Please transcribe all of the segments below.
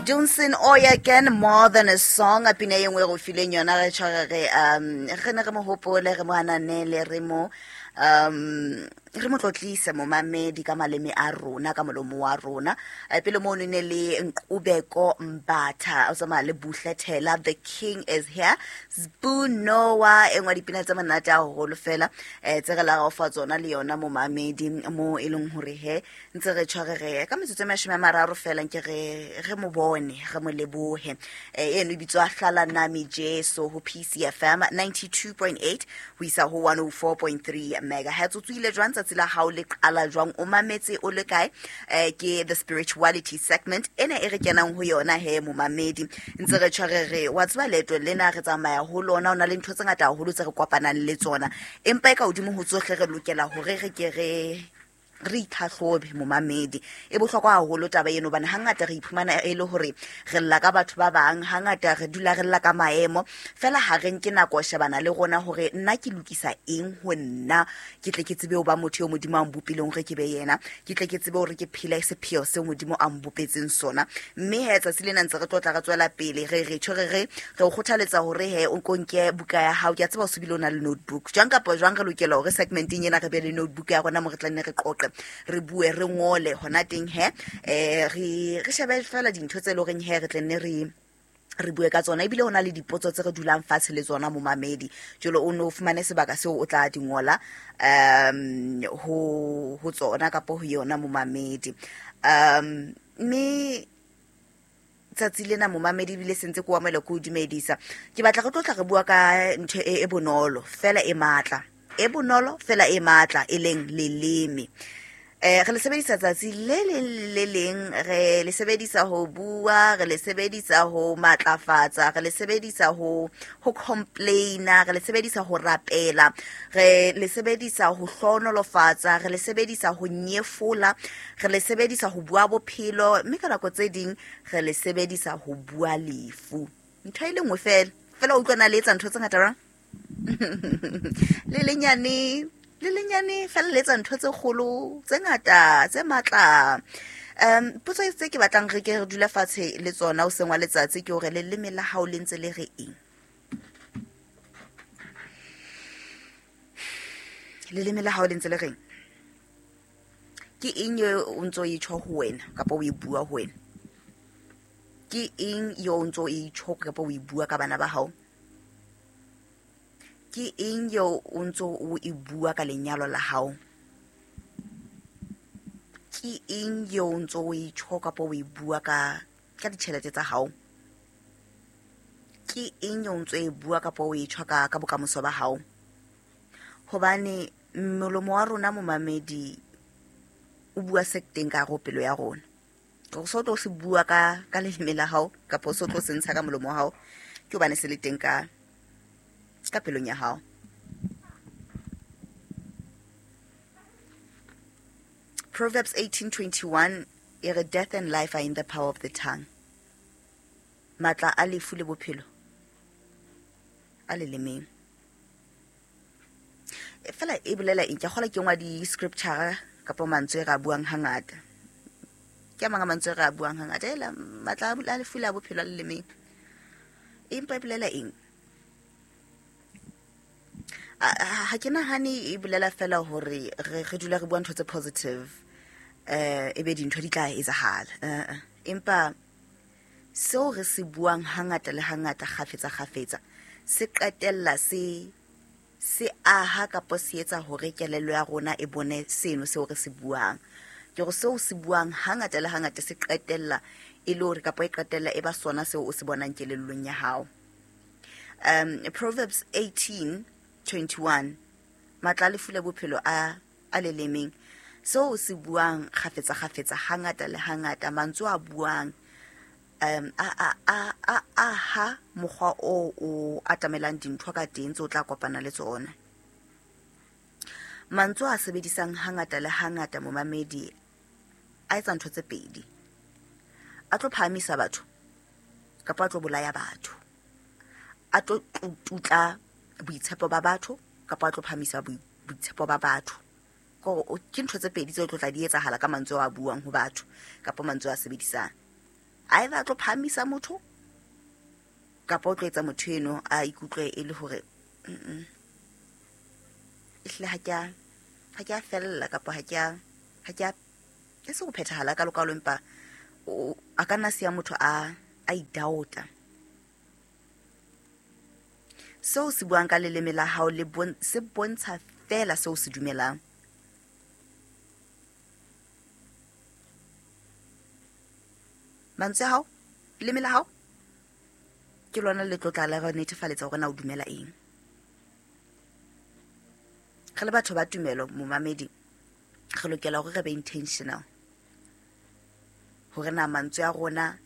Dunsin Oyekan, More Than a Song, a pina ye nngwe go fileng yona re tshware re re ne re mo hopole, re mo ananele, re mo tlotlise momamedi ka maleme a rona, ka molomo wa rona. Pele mo ne le Nqubeko Mbatha o tsamaya le Buhle Thela, The King Is Here, Sbu Noah, e nngwe ya dipina tse monate haholo fela, tse re la go fa tsona le yona momamedi mo e leng hore he ntse re tshwarege ka metsotso e 30 fela nke re mo bone, re mo lebohe. Eno e bitswa Hlala Nami Jesu ho PCFM 92.8 ho isa ho 104.3 megahertz. O tsohile jwang tsatsi la hao le qala jwang, o mametse o le kae? Ke the spirituality segment ena e re kenang ho yona he momamedi, ntse re tshwarege. Wa tseba leeto lena re tsamaya ho lona, o na le ntho tse ngata haholo tse re kopanang le tsona, empa e ka hodimo ho tsohle re lokela hore re ke re itlhahlobe momamedi. E bohlokwa haholo taba eno, hobane hangata re iphumana e le hore re lla ka batho ba bang, hangata re dula re lla ka maemo fela, ha re nke nako shebana le rona hore nna ke lokisa eng ho nna, ke tle ke tsebe ho ba motho eo Modimo a mbopileng hore ke be yena, ke tle ke tsebe hore ke phele sepheo seo Modimo a mbopetseng sona. Mme he tsatsi lena ntse re tlotla re tswela pele, re re tjho, re o kgothaletsa hore he o nko nke buka ya hao. Ke a tseba o se bile o na le notebook jwang kapa jwang, re lokela hore segmenteng ena re be le notebook ya rona mo re tla nne re qoqe, re bue, re ngole hona teng he, re shebe fela dintho tse leng horeng he re tle nne re bue ka tsona. Ebile ho na le dipotso tse re dulang fatshe le tsona momamedi, jalo o no fumane sebaka seo o tla di ngola ho tsona kapa ho yona momamedi. Mme tsatsi lena momamedi ebile sentse ke o amohela, ke o dumedisa. Ke batla re tlotla re bua ka ntho e bonolo fela e matla, e bonolo fela e matla, e leng leleme. Re le sebedisa tsatsi le leng le leng, re le sebedisa ho bua, re le sebedisa ho matlafatsa, re le sebedisa ho complaina, re le sebedisa ho rapela, re le sebedisa ho hlohonolofatsa, re le sebedisa ho nyefola, re le sebedisa ho bua bophelo, mme ka nako tse ding re le sebedisa ho bua lefu. Ntho e le nngwe fela fela, o utlwana le etsa ntho tse ngata jwang? Le lenyane, le lenyane fela le etsa ntho tse kgolo tse ngata tse matla. Potso e tse ke batlang re ke re dule fatshe le tsona o seng wa letsatsi ke hore leleme la hao le ntse le re eng? Leleme la hao le ntse le reng? Ke eng e o ntso e tjho ho wena kapa o e bua ho wena? Ke eng eo o ntso e tjho kapa o e bua ka bana ba hao? Ke eng eo o ntso o e bua ka lenyalo la hao? Ke eng eo o ntso o e tjho kapa o e bua ka ditjhelete tsa hao? Ke eng eo o ntso e bua kapa o e tjho ka bokamoso ba hao? Hobane molomo wa rona momamedi o bua se teng ka hare ho pelo ya rona. Hore se o tlo se bua ka leleme la hao kapa se o tlo se ntsha ka molomo wa hao, ke hobane se le teng ka pelong ya hao. Proverbs 18:21 e re, death and life are in the power of the tongue. Matla a lefu le bophelo a lelemeng. Fela e bolela eng? Ke a kgolwa ke ngwa di-scripture kapa mantswe e re a buang hangata. Ke a mang a mantswe e re a buang hangata, ela matla a lefu le a bophelo a lelemeng. Empa e bolela eng? Ha ke nahane e bolela fela hore re dula re bua ntho tse positive, ebe dintho di tla etsahala. Empa seo re se buang hangata le hangata kgafetsa kgafetsa se qetella se aha kapa se etsa hore kelello ya rona e bone seno seo re se buang. Ke hore seo se buang hangata le hangata se qetella e le hore kapa e qetella e ba sona seo o se bonang kelellong ya hao. Proverbs 18:21, matla a lefu le bophelo a lelemeng. Seo se buang kgafetsa kgafetsa hangata le hangata, mantswe a buang a aha mokgwa o atamelang dintho ka teng tse o tla kopana le tsona. Mantswe a sebedisang hangata le hangata momamedi a etsa ntho tse pedi. A tlo phahamisa batho kapa a tlo bolaya batho. A tlo tutla boitshepo ba batho kapa a tlo phahamisa boitshepo ba batho. Ke ntho tse pedi tse tlo tla di etsahala ka mantswe a buang ho batho kapa mantswe a sebedisang. Either a tlo phahamisa motho kapa o tlo etsa motho eno a ikutlwe e le hore ehlile ha ke a fella kapa ha ke a e se go phethahala ka lokalo, empa a ka nna siya motho a idaota. Seo se buang ka leleme la hao le se bontsha fela seo se dumelang. Mantswe a hao, leleme la hao ke lona le tlo tla le re netefaletsa hore na o dumela eng. Re le batho ba tumelo, momamedi, re lokela hore re be intentional hore na mantswe a rona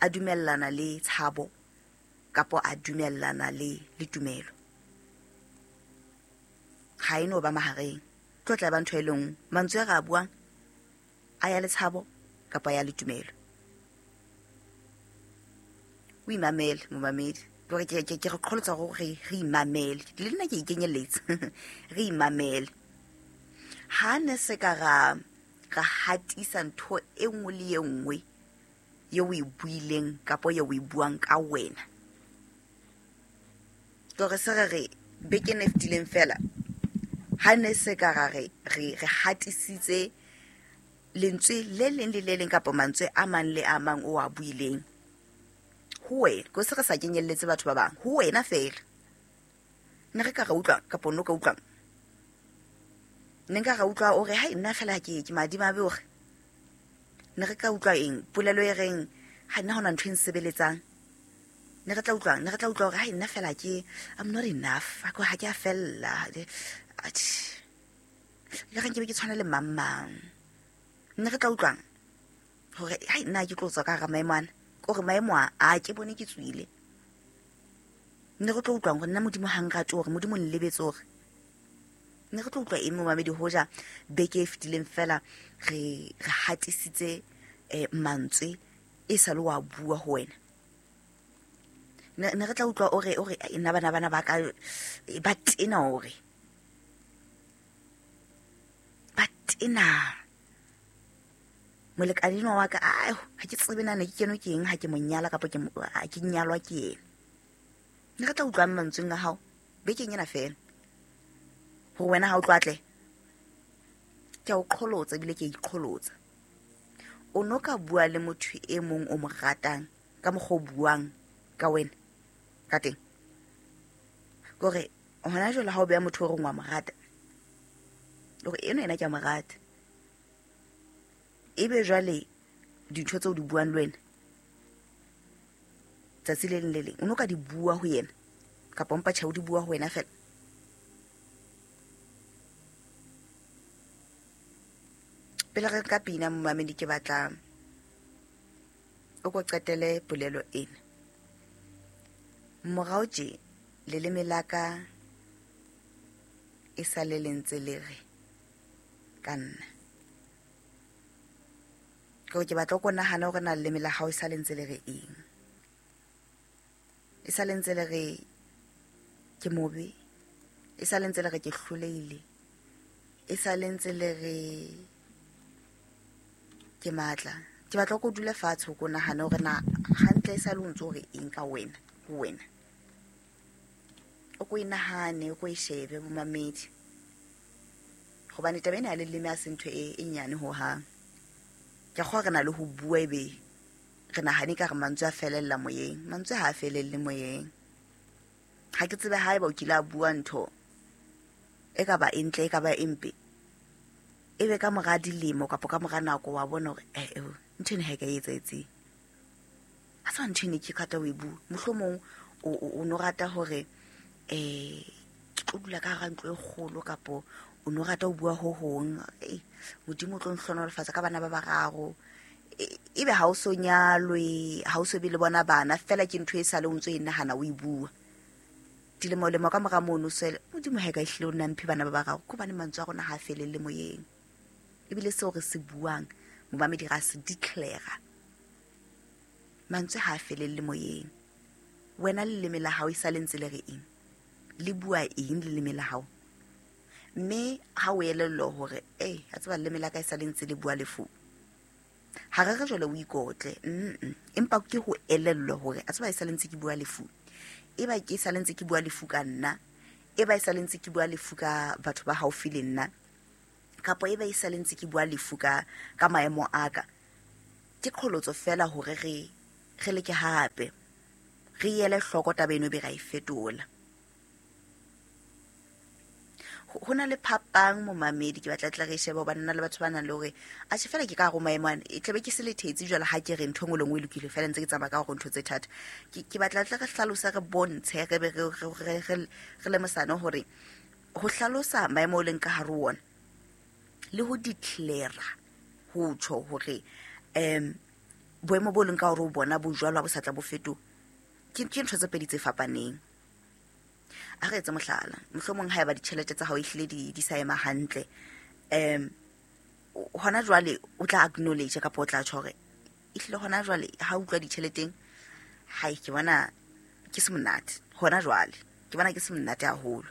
a dumellana le tshabo kapo a dumellana le tumelo. Ha e no ba mahareng, tlo tla ba ntho e le nngwe. Mantswe a re a buang a ya le tshabo kapa ya le tumelo. O imamele momamedi, ke re qholotsa hore re imamele, le nna ke ikenyelletsa. Re imamele. Ha ne se ka ra hatisa ntho e nngwe le e nngwe eo o e buileng kapa eo o e buang ka wena. Ke re se re beke e fetileng fela, ha ne se ka ra re hatisitse lentswe le leng le le leng kapa mantswe a mang le a mang o a buileng ho wena, ko se re sa kenyelletse batho ba bang, ho wena fela. Ne re ka ra utlwa kapa no ka utlwang? Ne nka ra utlwa o re hai nna fela ke madimabe hore. Ne re ka utlwa eng? Polelo e reng ha nna hona ntho e nsebeletsang. Ne re tla utlwang? Ne re tla utlwa hore hai nna fela ke I'm not enough, ha ke a fella. Le re nke be ke tshwana le mang mang. Ne re tla utlwang hore hai nna ke tlo tswa ka hara maemo ana, ke hore maemo a ke bone ke tswile. Ne re tlo utlwang hore nna Modimo ha nrate, hore Modimo o nlebetse, hore ne re tlo utlwa eng momamedi hoja beke e fetileng fela re hatisitse mantswe e sa le wa bua ho wena. Ne re tla utlwa o re nna bana ba ka ba tena, hore ba tena. Molekane enwa wa ka, ha ke tsebe na ne ke kenwe ke eng ha ke mo nyala kapa ke nyalwa ke yena. Ne re tla utlwang mantsweng a hao bekeng ena fela hore wena ha o tlo atle. Ke a o qholotsa ebile ke a iqholotsa. O no ka bua le motho e mong o mo ratang ka mokgwa o buang ka wena ka teng. Ke hore hona jwale ha o beha motho o reng wa mo rata, hore eno yena ke a mo rata, ebe jwale dintho tseo di buang le wena tsatsi le leng le leng o no ka di bua ho yena kapa mpa tjhe o di bua ho wena fela. Pele re ka pina momamedi, ke batla o ko qetele polelo ena. Morao tje leleme la ka e sa le lentse le re ka nna. Ke ke batla ko nahana hore na leleme la hao e sa le ntse le re eng. E sa le ntse le re ke mobe, e sa le ntse le re ke hlolehile, e sa le ntse le re ke matla. Ke batla ko dule fatshe ko nahana hore na hantle e sa le o ntse o re eng ka wena, ho wena. O ko e nahane, o ko e shebe momamedi, hobane taba ena ya leleme ha se ntho e nyane hohang. Ke kgolwa re na le ho bua ebe re nahane ka re mantswe a felella moyeng. Mantswe ha a felelle moyeng. Ha ke tsebe haeba o kile a bua ntho e ka ba e ntle, e ka ba e mpe, ebe ka mora dilemo kapa ka mora nako wa bona hore ntho ena ha e ka e etsahetseng. Ha se ntho ene ke rata ho e bua. Mohlomong o no rata hore ke tlo dula ka hara ntlo e kgolo, kapo o no rata ho bua ho hong, Modimo o tlo nhlohonolofatsa ka bana ba bararo. Ebe ha o so nyalwe, ha o so be le bona bana, fela ke ntho e sale o ntso e nahana o e bua. Dilemo-lemo ka mora mono swele, Modimo ha e ka ehlile o nna mphe bana ba bararo, ke hobane mantswe a rona ha a felelle moyeng. Ebile seo re se buang, momamedi ra se declare. Mantswe ha a felelle moyeng. Wena leleme la hao e sa le ntse le re eng? Le bua eng leleme la hao? Mme ha o elellwa hore a tseba leleme la ka e sa le ntse le bua lefu, Ha re re jwale o ikotle, empa ke ho elellwa hore a tseba e sale ntse ke bua lefu, e ba ke sale ntse ke bua lefu ka nna, e ba e sale ntse ke bua lefu ka batho ba haufi le nna, kapa e ba e sale ntse ke bua lefu ka maemo a ka. Ke qholotso fela hore re leke hape, re ele hloko taba eno be ra e fetola. Ho na le phapang momamedi, ke batla tla re shebe hobane nna le batho ba nang le hore atjhe fela ke ka hare ho maemo ana, e tlabe ke se le thetsi jwale ha ke re ntho e nngwe le nngwe e lokile fela ntse ke tsamaya ka hore ntho tse thata. Ke batla tla re hlalose, re bontshe, re be re lemosane hore ho hlalosa maemo o leng ka hare ho ona le ho declare ho tjho hore boemo bo leng ka hore o bona bo jwalo ha bo sa tla bo fetoha, ke ntho tse pedi tse fapaneng. A re etse mohlala, mohlomong ha eba ditjhelete tsa hao ehlile di sa ema hantle, hona jwale o tla acknowledge kapa o tla tjho hore ehlile hona jwale ha o utlwa ditjheleteng, hai ke bona ke se monate hona jwale, ke bona ke se monate haholo.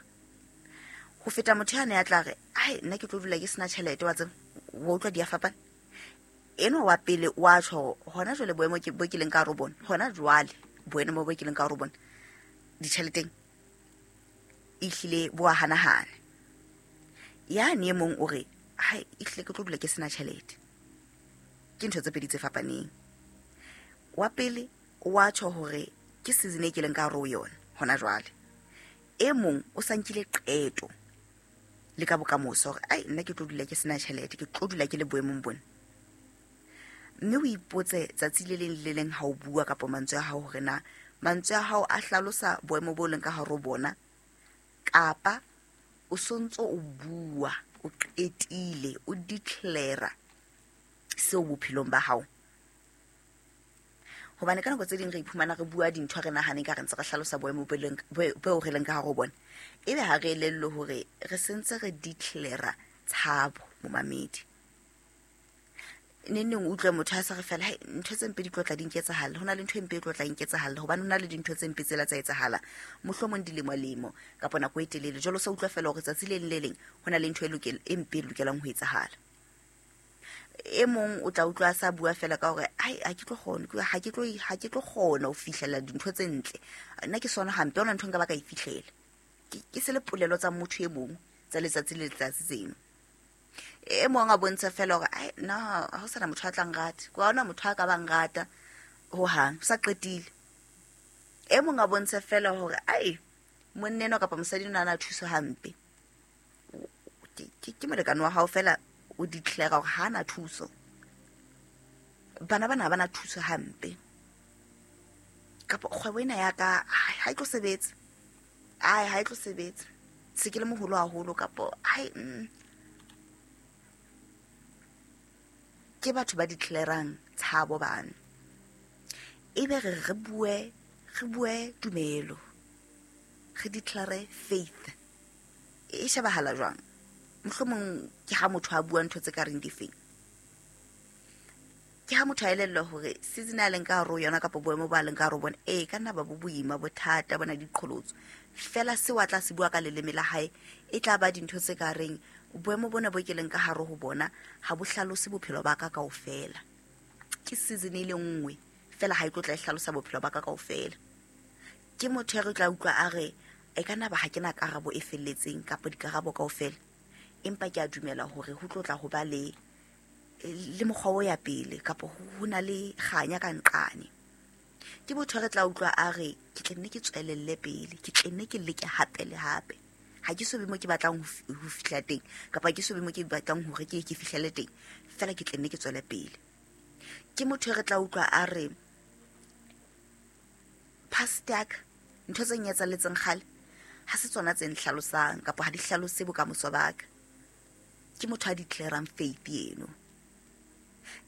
Ho feta motho ya ne a tla re, ai nna ke tlo dula ke sena tjhelete, wa tseba, wa utlwa di a fapana. Enwa wa pele wa tjho hona jwale boemo ke bo ke leng ka hare ho bona, hona jwale boemo bo ke leng ka hare ho bona ditjheleteng ehlile bo a hanahana. Yane e mong o re, hai ehlile ke tlo dula ke sena tjhelete. Ke ntho tse pedi tse fapaneng. Wa pele wa tjho hore ke season e ke leng ka hare ho yona hona jwale. E mong o sa nkile qeto le ka bokamoso hore ai nna ke tlo dula ke sena tjhelete, ke tlo dula ke le boemong bona. Mme o ipotse tsatsi le leng le leng ha o bua kapa mantswe a hao hore na mantswe a hao a hlalosa boemo bo leng ka hare ho bona, kapa o sontso o bua, o qetile, o declare seo bophelong ba hao. Hobane ka nako tse ding re iphumana re bua dintho re nahane ka re ntse re hlalosa boemo bo re leng ka hare ho bona, ebe ha re elellwe hore re sentse re declare tshabo momamedi. Neng neng o utlwe motho a sa re fela, hai ntho tse mpe di tlo tla di nketsahalla, ho na le ntho e mpe e tlo tla nketsahalla, hobane ho na le dintho tse mpe tsela tsa etsahala mohlomong dilemo-lemo kapa nako e telele. Jwale o sa utlwa fela hore tsatsi le leng le leng ho na le ntho e mpe e lokelang ho etsahala. E mong o tla utlwa a sa bua fela ka hore ai ha ke tlo kgona, ha ke tlo, ha ke tlo kgona ho fihlela dintho tse ntle, nna ke sona hampe, hona ntho nka ba ka e fihlela. Ke se le polelo tsa motho e mong tsa letsatsi le letsatsi tseno. E mong a bontsha fela hore ai nna ha ho sana motho a tla nrata, ha hona motho a ka bang rata hohang, o sa qetile. E mong a bontsha fela hore ai monna enwa kapa mosadi enwa a na thuso hampe, ke molekane wa hao fela o declare hore ha ana thuso. Bana bana ha bana thuso hampe, kapa kgwebo ena ya ka ha e tlo sebetsa, ai ha e tlo sebetsa, se ke le moholo haholo, kapa ai Ke batho ba declarang tshabo bana. Ebe re bue, re bue tumelo, re declare faith. E shebahala jwang? Mohlomong ke ha motho a bua ntho tse ka reng difeng. Ke ha motho a elellwa hore season a leng ka hare ho yona kapa boemo bo a leng ka hare ho bona, ee, ka nna ba bo boima, bothata, bona diqholotso. Fela seo a tla se bua ka leleme la hae e tla ba dintho tse ka reng boemo bona bo ke leng ka hare ho bona ha bo hlalose bophelo ba ka kaofela. Ke season e le nngwe fela ha e tlo tla e hlalosa bophelo ba ka kaofela. Ke motho ya re tla utlwa a re e ka nna ba ha ke na karabo e felletseng kapa dikarabo kaofela, empa ke a dumela hore ho tlo tla ho ba le mokgwa o ya pele kapa ho na le kganya ka nqane. Ke motho re tla utlwa a re ke tla nne ke tswelelle pele, ke tla nne ke leke hape le hape. Ha ke so be mo ke batlang ho fihla teng, kapa ke so be mo ke batlang hore ke fihlele teng, fela ke tla nne ke tswele pele. Ke motho re tla utlwa a re past ya ka, ntho tse nketsahalletseng kgale ha se tsona tse nhlalosang kapa ha di hlalose bokamoso ba ka. Ke motho a declarang faith eno.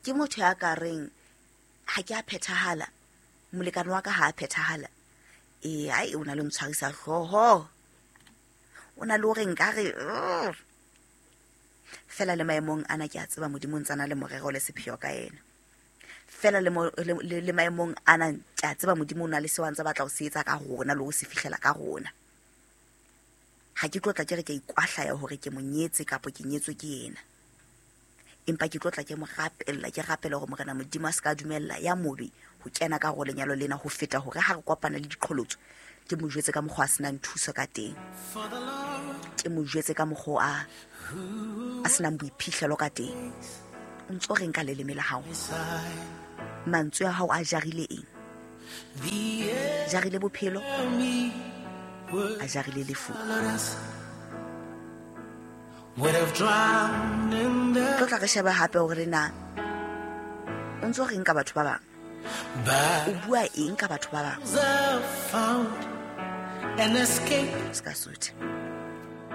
Ke motho ya ka reng ha ke a phethahala, molekane wa ka ha a phethahala, ee, ai o na le ntshwarisa hlooho, o na le hore nkare fela le maemong ana ke a tseba Modimo o ntse a na le morero le sepheo ka yena. Fela le maemong ana ke a tseba Modimo o na le seo a ntse a batla ho se etsa ka rona le ho se fihlela ka rona. Ha ke tlo tla ke re ke a ikwahlaya hore ke mo nyetse kapa ke nyetswe ke yena. Empa ke tlo tla ke mo rapella, ke rapele hore Morena Modimo a se ka dumella ya mobe ho kena ka hare ho lenyalo lena, ho feta hore ha re kopana le diqholotso ke mo jwetse ka mokgwa a senang thuso ka teng, ke mo jwetse ka mokgwa a senang boiphihlelo ka teng. O ntso reng ka leleme la hao? Mantswe a hao a jarile eng? Jarile bophelo, a jarile lefu. Tlo tla re shebe hape hore na o ntso reng ka batho ba bang, o bua eng ka batho ba bang. Se ka sothe.